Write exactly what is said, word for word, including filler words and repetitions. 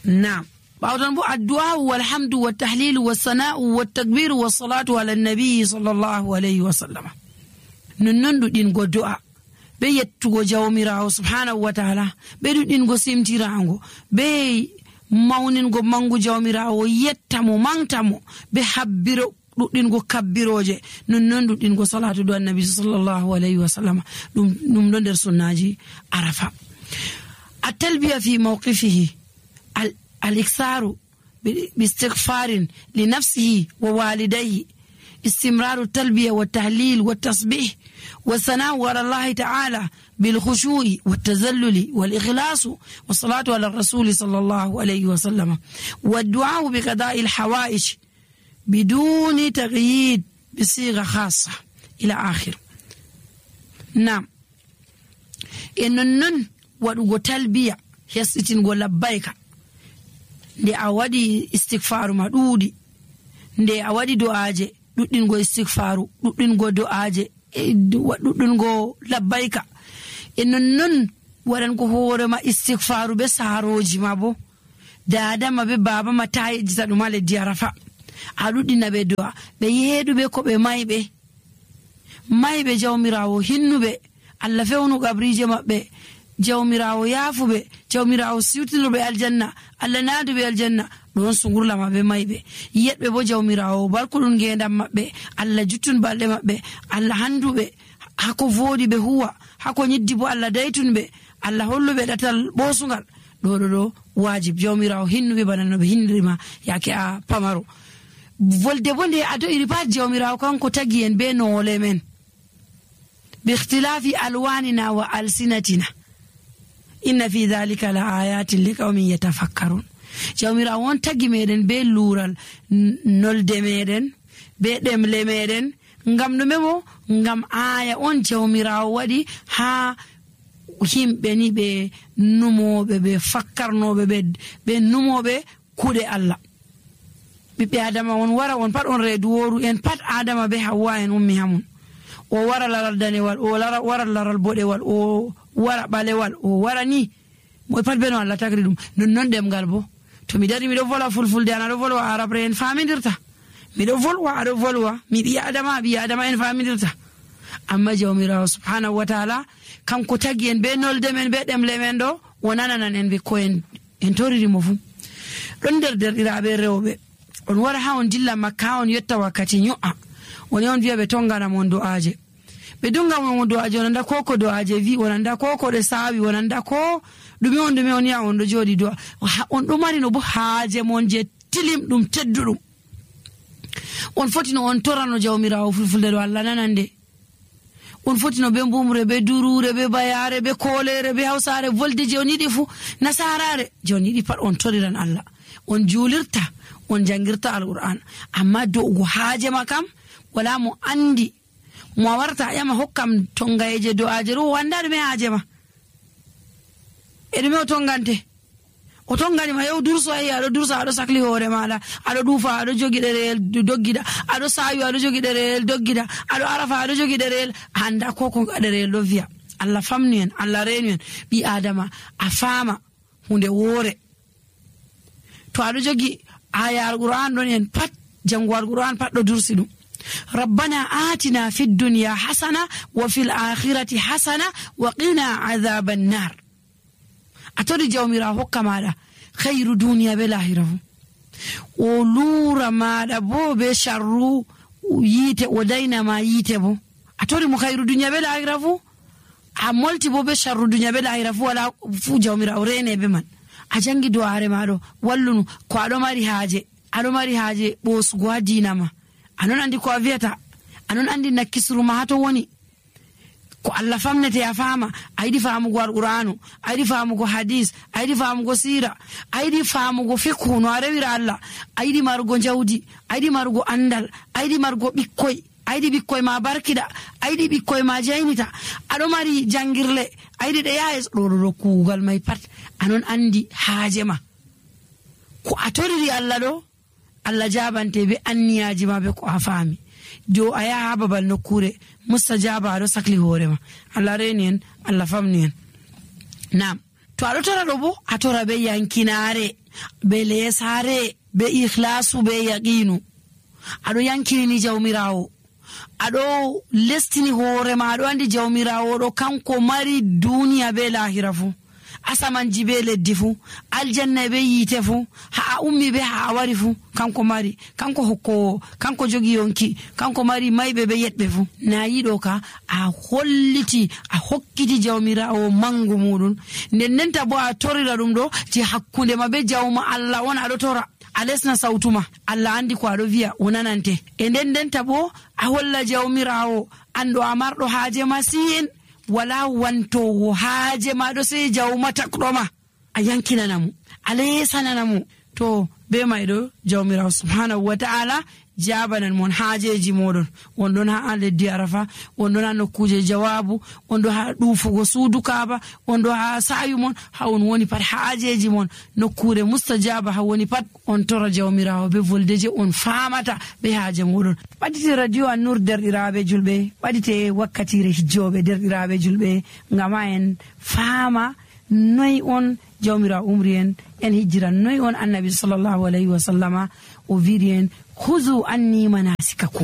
Naam. Ɓawɗon bo addu'a walhamdu wa tahlilu wa sana'u wa takbiru wa salatu ala nabi sallallahu alayhi wa sallam. Nonnon ɗuɗingo du'a be yettugo jawmirawo subhanahu wa ta'ala, be ɗuɗingo simtirago, be mawningo mangu jawmirawo, yettamo mantamo, be habbiro ɗuɗingo kabbiroje. Nonnon ɗuɗingo salatu do annabi sallallahu alayhi wa sallam. ɗum ɗum ɗo nder sunnaji arafa. At-talbiya fi mawqifihi al-iksaru bi-istighfarin li nafsihi wa walidayhi, istimraru talbiya wa tahlil wa tasbih wa sana'u ala Allah ta'ala bil khushu'i wa tazalluli wal ikhlasu wa salatu ala rasul sallallahu alayhi wa sallam wa du'a bi qada'i al-hawa'ij biduni taghyid bi sigha khassa ila akhir. Naam. Ennon waɗugo talbiya hesitingo labbayka nde a waɗi istighfaru ma ɗuuɗi, nde a waɗi do'aje ɗuɗɗingo istighfaru, ɗuɗɗingo do'aje, ɗuɗɗingo labbayka. E nonnon waɗango hoorema istighfaru be saaroji ma bo, dadama be baba ma ta yejjita ɗum ha leddi arafa. A ɗuɗɗina ɓe do'a, ɓe yeeɗuɓe ko ɓe mayɓe mayɓe jawmirawo hinnuɓe, Allah fewnu gabrije maɓɓe, jawmirawo yaafuɓe, jawmirawo siwtinoɓe aljanna, Allah naaduɓe aljanna. ɗon sungurlama be mayɓe, yetɓe bo jawmirawo barkuɗum ngendam maɓɓe, Allah juttun balɗe maɓɓe, Allah handuɓe hako voodi ɓe huwa, hako nyiddi bo Allah daytunɓe, Allah holluɓe ɗatal ɓosugal. ɗo ɗo ɗo wajib jawmirawo hinnuɓe bana no ɓe hinnirima yake a pamaro. Volde bo nde ado iri pat jawmirawo kanko tagi en be noole men bi ikhtilafi alwanina wa alsinatina, inna fi dhalika la ayatin liqaumin yatafakkarun. jawmirawo on tagi meɗen be luural nolde meɗen be ɗemle meɗen, ngam ɗume mo? Ngam aya on jawmirawo waɗi ha himɓe ni ɓe numoɓe, ɓe fakkarnoɓe, ɓe numoɓe kuɗe Allah. ɓiɓɓe adama on wara on pat on reedu woru en pat adama be hawwa en ummi hamun. O wara laral danewal, o wara laral boɗewal, o wara ɓalewal, o wara ni moy pat beno Allah tagri ɗum. nonnon ɗemgal bo, to mi dari miɗo volwa fulfulde an aɗo volwa arabre en famidirta, miɗo volwa aɗo volwa, mi ɓi adama ɓi adama en famidirta. Amma jawmirawo subhanahu wa ta'ala kanko tagi en be nolde men be ɗemle men ɗo, o nananan en be ko en en toririmo fu. ɗon nder derɗiraɓe rewɓe on wara ha on dilla makka ha on yetta wakkati nyo'a, on on wiya ɓe tongana mon do'aje, ɓe dunga mon do'aje, on anda ko ko do'aje vi, on anda ko ko ɗe sawi, on anda ko ɗume on ɗume on ya on ɗo joɗi do'a. On ɗo mari no bo haaje mon je tilim ɗum tedduɗum, on foti no on torano jawmirawo fulfulde ɗo Allah nanande. On foti no be mbumre, be durure, be bayare, be kolere, be hausare, volde je on yiɗi fu, nasarare je on yiɗi pat on toriran Allah, on julirta, on jangirta alquran. Amma do'ugo haaje ma kam wala mo andi, mo warta yama hokkam tongayeje do'aje ro wanda ɗume haaje ma, e ɗume o tongante? O tongani ma yow durso ayi aɗo dursa aɗo sakli hoore maɗa, aɗo ɗuufa aɗo jogi ɗereyel doggida, aɗo sawi aɗo jogi ɗereyel doggida, aɗo arafa aɗo jogi ɗereyel, anda ko ko ɗereyel ɗo wiya. Allah famni en, Allah reenu en, ɓi adama a fama hunde woore. To aɗo jogi aya alquran ɗon en pat, jango alquran pat ɗo dursi ɗum. rabbana atina fid dunya hasana wa fil akhirati hasana wa qina adhaban nar. a tori jawmirawo hokka maɗa khairu duniya be lahira fu, o lura maɗa bo be sharru yite, o daynama yite bo. a tori mo khairu duniya be lahira fu, a molti bo be sharru duniya be lahira fu, wala fu jawmirawo rene be man. a jangi do'are maɗo wallunu ko aɗo mari haaje, aɗo mari haaje ɓosugo ha dinama, anon andi ko a wiyata, anon andi nakkisru ma hato woni, ko Allah famnete a fama. a yiɗi famugo alqur'anu, a yiɗi famugo hadis, a yiɗi famugo sira, a yiɗi famugo fikhu no a rewira Allah, a yiɗi marugo jawdi, a yiɗi marugo andal, a yiɗi marugo ɓikkoy, a yiɗi ɓikkoy ma barkida, a yiɗi ɓikkoy ma jaynita, aɗo mari jangirle, a yiɗi ɗe yaha ɗo ɗo kuugal may pat anon andi haaje ma. ko a toriri Allah ɗo, Allah jabante be anniyaji ma be ko a faami. jo a yaha ha babal nokkure mustajaba aɗo sakli hoorema. Allah reni en, Allah famni en. Naam, to aɗo tora ɗo bo a tora be yankinare, be lesare be ikhlasu be yaqinu ado yankini jawmirawo ado lestini hore ma ado andi jawmirawo do kanko mari duniya be lahira fu asaman jibe leddi fu aljanna be yite fu ha ummi be ha wari fu kanko mari kanko hokko kanko jogi yonki kanko mari maybe be yetbe fu na yido ka a holliti a hokkiti jawmirawo mangu mudun nden nenta bo a torira dum do ti hakkunde mabe jawma Allah wona do tora alesna sautuma Allah andi ko ado viya wonanante e nden ndenta bo a holla jawmirawo ando amardo haaje masin wala wanto haaje ma do sai jawmata kroma a yankina namu alesana namu to be maydo jawmirawo subhanahu wa ta'ala jabanan mon haajeji modon wondon ha leddi arafa wondon ha nokkuje jawabu wondo ha dufugo suudu kaaba wondo ha sayu mon ha on woni pat haajeji mon nokkure mustajaba ha woni pat on tora jawmirawo be voldeje on famata be haaje modon badite radio an-nur derdirabe julbe badite wakkatire hijjobe derdirabe julbe ngama en fama noy on jawmirawo umri en en hijira noy on annabi sallallahu alaihi wasallama o virien khuzu anni manasikakum